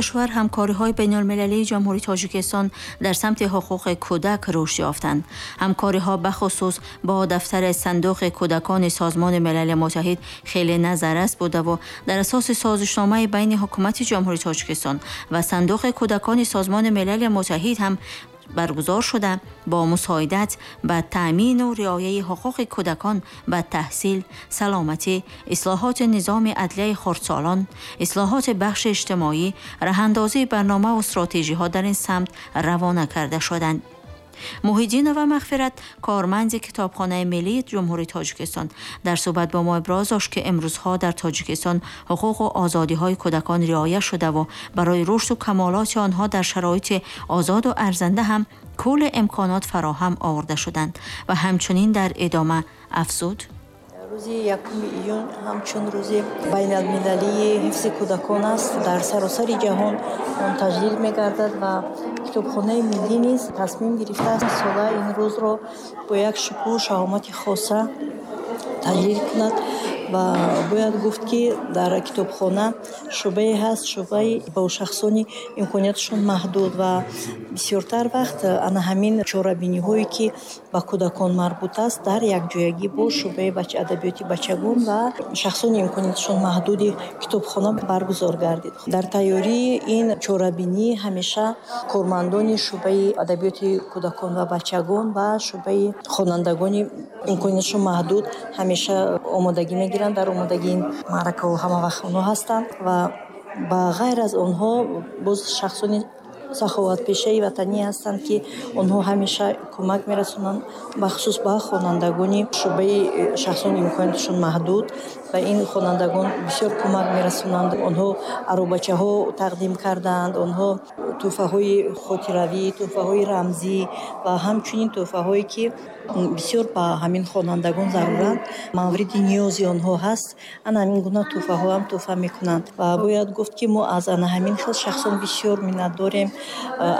Кишвар ҳамкориҳои байналмилалии Ҷумҳурии Тоҷикистон дар самти ҳуқуқи кӯдак рушд ёфтанд. Ҳамкориҳо бахусус бо дафтари Сандуқи кӯдакони Созмони Милали Муттаҳид хеле назаррас буда дар асоси созишномаи байни ҳукумати Ҷумҳурии Тоҷикистон ва Сандуқи кӯдакони Созмони Милали Муттаҳид ҳам баргузор шуда, бо мусоидат ба таъмину риояи ҳуқуқи кӯдакон ба таҳсил, саломатӣ, ислоҳоти низоми адлияи хурдсолон, ислоҳоти бахши иҷтимоӣ, роҳандозии барномаву стратегиҳо дар ин самт равона карда шуданд. Муҳиддинова Мағфират, корманди Китобхонаи миллии Ҷумҳурии Тоҷикистон, дар суҳбат бо мо иброз дошт, ки имрӯзҳо дар Тоҷикистон ҳуқуқу озодиҳои кӯдакон риоя шудаву барои рушду камолоти онҳо дар шароити озоду арзанда ҳам кулли имконот фароҳам оварда шуданд ва ҳамчунин дар идома афзуд: Рӯзи 1 июн ҳамчун рӯзи байналмилалии ҳифзи кӯдакон аст. Дар саросари ҷаҳон он таҷлил мегардад ва Китобхонаи миллӣ низ тасмим гирифтааст, сола ин рӯзро бо як шукӯҳу шаҳомати хоса таҷлил кунад. Ва бояд гуфт, ки дар китобхона шӯъбае ҳаст, шӯъбаи бо шахсони имконияташон маҳдуд, ва бисёртар вақт ана ҳамин чорабиниҳое, ки ба кӯдакон марбут аст, дар якҷоягӣ бо шӯъбаи адабиёти бачагон ва шахсони имконияташон маҳдуди китобхона баргузор гардид. Дар тайёрии ин чорабинӣ ҳамеша кормандони шӯъбаи адабиёти кӯдакон ва бачагон ва шӯъбаи хонандагони имконияташон маҳдуд ҳамеша омодагӣ мегиранд. Дар омодагии ин маъракаҳо ҳамавақт онҳо ҳастанд ва ба ғайр аз онҳо боз шахсони саховатпешаи ватанӣ ҳастанд, ки онҳо ҳамеша кӯмак мерасонанд, бахусус ба хонандагони шӯъбаи шахсони имконияташон маҳдуд. Ба ин хонандагон бисёр кӯмак мерасонанд. Онҳо аробачаҳо тақдим кардаанд, онҳо тӯҳфаҳои хотиравӣ, тӯҳфаҳои рамзӣ ва ҳамчунин тӯҳфаҳое, ки бисёр ба ҳамин хонандагон заруранд, мавриди ниёзи онҳо ҳаст, ана ҳамин гуна тӯҳфаҳоам тӯҳфа мекунанд. Ва бояд гуфт, ки мо аз ана ҳамин хел шахсон бисёр миннатдорем,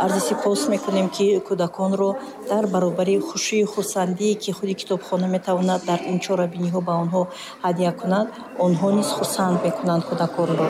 арзи сипос мекунем, ки кӯдаконро дар баробари хушию хурсандие, ки худи китобхона метавонад дар ин чорабиниҳо ба онҳо ҳадя кунад, онҳо низ хурсанд мекунанд кӯдаконро.